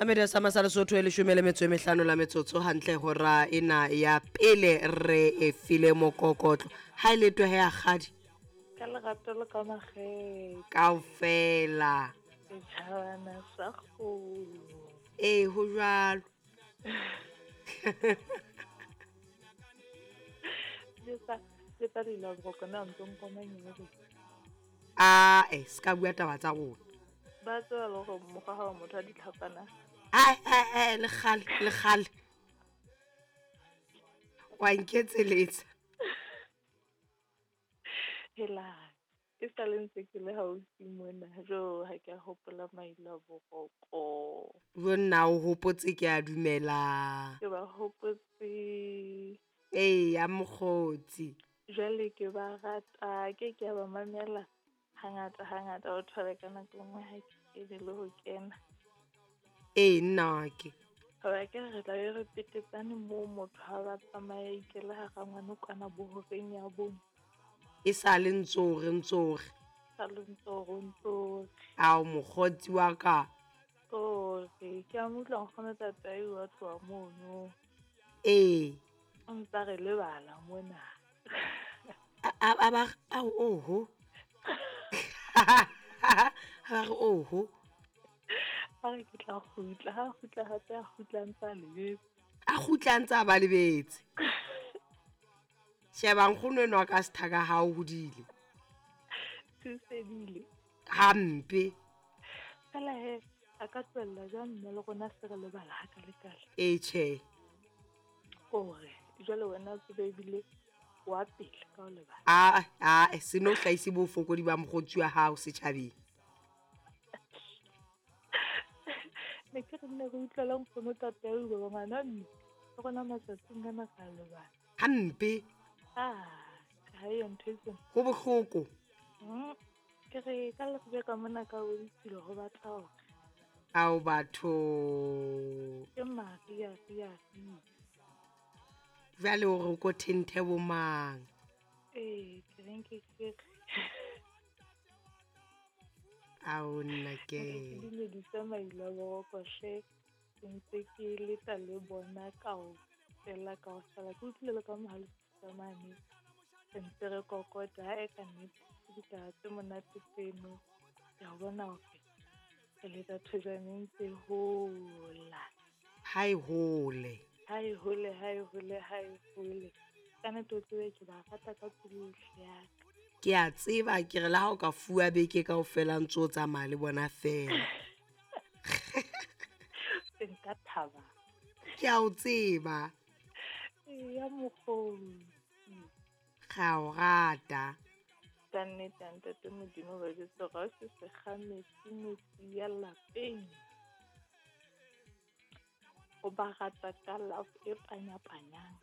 Mamedi sa masala Sotho e leshome le metso e mehlano la metsotso hantle hora ena ya pele re e file mokokotlo. Ha e le twe he akgadi. Ka lerato le ka makgethe. Kaofela. Setjhabana sa kgolo. Ee, ho jwalo. Ae, se ka bua taba tsa rona. Ba tseba le hore mokgwa ha wa motho a ditlhapana. Ae, ae, ae, le kgale, le kgale. Wa nketseletsa. Hela, e sa le ntse ke le haufi mona, jo ha ke a hopola mailo a boroko. Jo nna o hopotse ke a dumela. Ke ba hopotse. Ee, ya mokgotsi. Jwale ke ba rata, ke ke a ba mamela hangata hangata, o thole ka nako e nngwe ha ke kene le ho kena. Ee, nna ke. Hoba ke re tla be re petetsane moo motho ha ba tsamaya ikela hara ngwana kwana bohoreng ya bong. E sa le ntsore ntsore. Sa le ntsore ntsore. Ao mokgotsi wa ka. Tsore, ke a mo utlwa nkgono tatai wa tloha mono. Ee. O ntsa re lebala mona. A ba ao oho. A ba re oho. A re ke tla kgutla, ha kgutla hape a kgutla ntsa lebetse. A kgutla ntsa ba lebetse. Sheba nkgono enwa ka sethaka ha o hodile. Thusedile. Hampe. Fela he, a ka tlohella jwang mme le rona se re lebala ha ka le kale. Ee tjhe. Hore jwale wena o tsebe ebile wa pele ka ho lebala. Aa, aa, se no hlahise bofokodi ba mokgotsi wa hao setjhabeng. Ne ke re nne re utlwela nkgono tatau ba ngwana mme le rona matsatsing ana ka lebala. Hampe. Ah, ha e ntho e tsena. Ho bohloko. Ke re ka lebe ka mona ka boditsile ho batla hore. Ao batho. Ke Maria Ria. Jwale o re ko thenthe bo mang? Ee, ke reng ke ke. Ao nna ke. Ke dumedise mailo a boroko hle. Ke ntse ke leta le bona kaofela kaofela. Ke utlwile le ka mohale mane. Re ntse re kokota ha e ka nnete ke ditaba tse monate tseno. Ke a bona hore re leta thojane ntse hola. Ha e hole. Ha e hole, ha e hole, ha e hole. Ka nnete o tsebe ke ba rata ka pelo yohle ya ka. Ke a tseba ke re le ha o ka fuwa beke kaofela ntse o tsamaya le bona fela. Nka thaba. Ke a o tseba. Ya mokgotsi. Ga o rata. Ka nnete ntate Modimo ba jwetse hore ha o se sekga metsi metsi ya lapeng. O ba rata ka love e panyapanyang.